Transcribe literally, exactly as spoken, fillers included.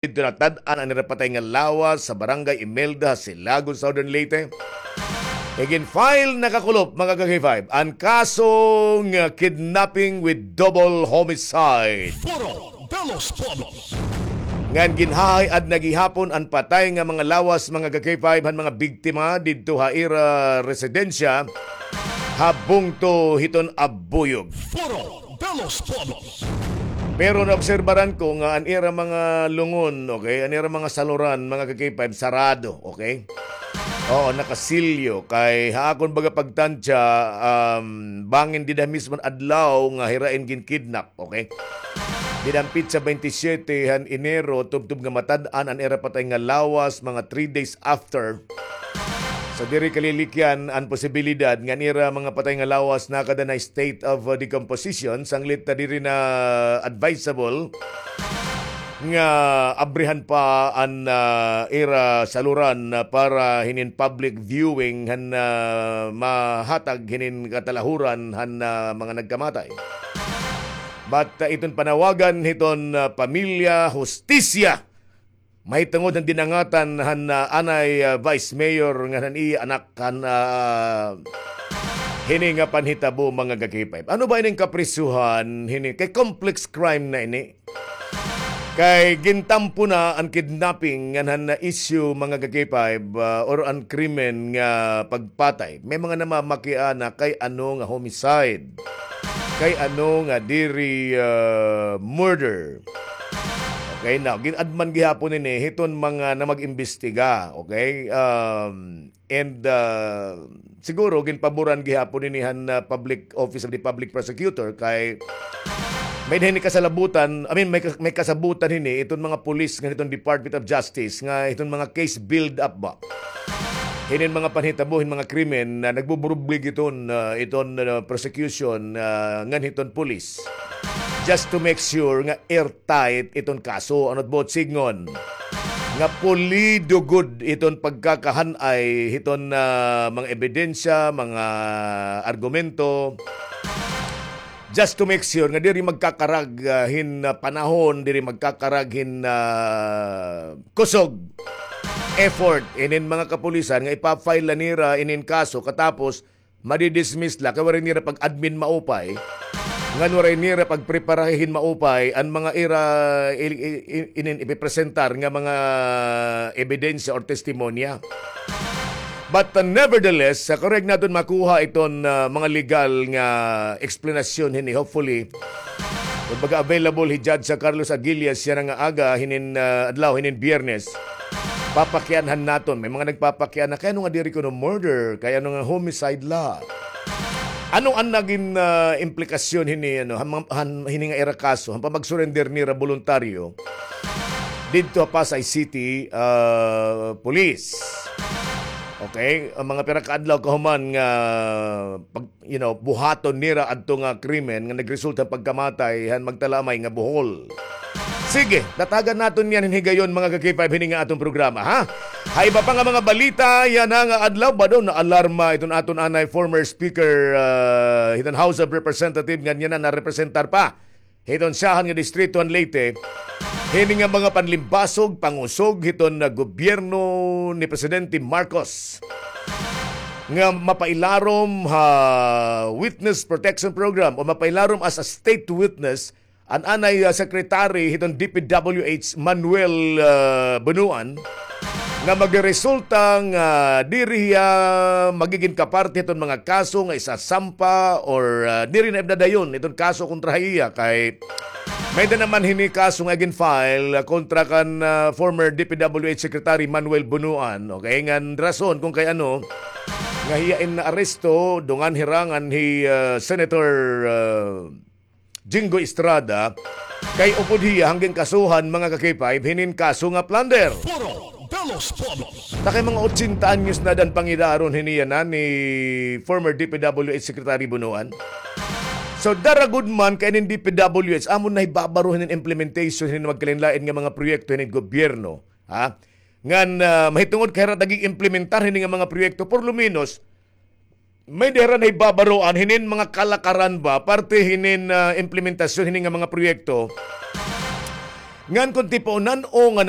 didto natad-an an ira patay nga lawas sa Barangay Imelda, Silagon, Southern Leyte. Igin-file na kakulop, mga ka-K five, an kaso nga kidnapping with double homicide. Foro de los Pueblos. Ngan ginhahay-ad na gihapon an patay nga mga lawas, mga ka-K five, han mga biktima didto ha ira residensya ha bungto hiton Abuyog. Foro de los Pueblos. Pero naobserbaran ko nga an ira mga lungon, okay, an ira mga saluran, mga ka-K five, sarado, okay? Oo, nakasilyo. Kay ha akon baga pagtansya, um, bangin dida mismon adlaw nga hira in ginkidnap, okay? Dida han petsa twenty-seven han Enero, tubtob nga matad-an an ira patay nga lawas, mga three days after. So, diri kalilikyan an posibilidad nga an ira mga patay nga lawas nakada na state of, uh, decomposition, sanglit na diri na advisable nga abrihan pa an, ah, ira saluran, ah, para hinin public viewing han, ah, mahatag hinin katalahuran han, ah, mga nagkamatay. But, ah, iton panawagan hiton, ah, pamilya, hustisya, mahitungod han dinangatan han, ah, anay, ah, Vice Mayor ngan han iya anak han, ah, hini nga panhitabo, mga ka-K five. Ano ba ining kaprisuhan hini? Kay complex crime na ini. Kay gintampo na an kidnapping ngan han na issue, mga ka-K five, ah, or an krimen nga pagpatay. May mga namamakiana kay ano nga homicide, kay ano nga diri, ah, murder. Okay, now, gin-add man gihapon ini hiton mga na mag-imbestiga, okay? Um, and, ah, siguro, ginpaboran gihapon ini han, ah, Public Office of the Public Prosecutor kay may hini kasalabutan, I mean, may kas-, may kasabutan hini iton mga pulis ngan hiton Department of Justice nga hiton mga case build-up ba. Hinin mga panhitabo hin mga krimen na nagbuburublig iton, ah, iton, ah, prosecution, ah, ngan hiton pulis. Just to make sure nga airtight iton kaso, ano it buot sidngon? Nga pulido gud iton pagkakahan-ay hiton, ah, mga ebidensya, mga argumento. Just to make sure nga diri magkakarag, ah, hin, ah, panahon, diri magkakarag hin, ah, kusog, effort inin mga kapulisan nga ipa-file la nira inin kaso katapos madi-dismiss la kay waray nira pag-admin maupay. Ngan waray nira pagpreparahin maupay an mga ira i-, i-, i-, inin ipipresentar nga mga ebidensya or testimonya. But, uh, nevertheless, sa karuyag naton makuha iton, uh, mga legal nga eksplanasyon hini, hopefully, kumbaga, available hi Judge, uh, Carlos Aguila yana nga aga hinin, uh, adlaw, hinin Biyernes. Papakianhan naton. May mga nagpapakiana, kay ano nga diri kuno murder, kay ano nga homicide la. Ano an nagin, uh, implikasyon hini, ano, han, han, hini nga ira kaso, han pamag-surrender nira boluntaryo didto ha Pasay City, ah, Police. Okay, an mga pira ka adlaw kahuman nga pag, you know, buhaton nira adto nga krimen nga nagresulta han pagkamatay han magtalamay nga buhol. Sige, tatagan naton yan hin higayon, mga ka-K five, hini nga aton programa, ha? Ha iba pa nga mga balita yana nga adlaw, bado, naalarma iton aton anay former speaker, ah, hiton House of Representative, ngan yana narepresentar pa hiton syahan nga distrito han Leyte, hini nga mga panlimbasog, pangusog hiton, ah, gobyerno ni Presidente Marcos nga mapailarom ha Witness Protection Program o mapailarom as a state witness an anay, ah, secretary hiton D P W H, Manuel, ah, Bonoan, nga magresulta nga diri hiya magigin kaparte hiton mga kaso nga isasampa or, ah, diri na ipnadayon iton kaso kontra ha iya kay may-ada naman hini kaso nga igin-file, ah, kontra kan, ah, former D P W H Secretary Manuel Bonoan. Okay, ngan rason kon kay ano nga hiya in naaresto, dungan hirangan hi, ah, Senator, ah, Jinggoy Estrada, kay upod hiya han ginkasuhan, mga ka-K five, hinin kaso nga plunder. Foro de los Pueblos. Ta kay mga ochenta anyos na dan pangidaron hini yana ni former D P W H Secretary Bonoan. So, dara gud man kay inin D P W H, amo na hibabaro hinin implementation hinin magkalain-lain nga mga proyekto hinin gobyerno, ha? Ngan, ah, mahitungod kay hira it nag-iimplementar hini nga mga proyekto, por lo menos, may-ada hira nahibabaroan hinin mga kalakaran ba, parte hinin, ah, implementasyon hini nga mga proyekto. Ngan kon tipaonan, o, nga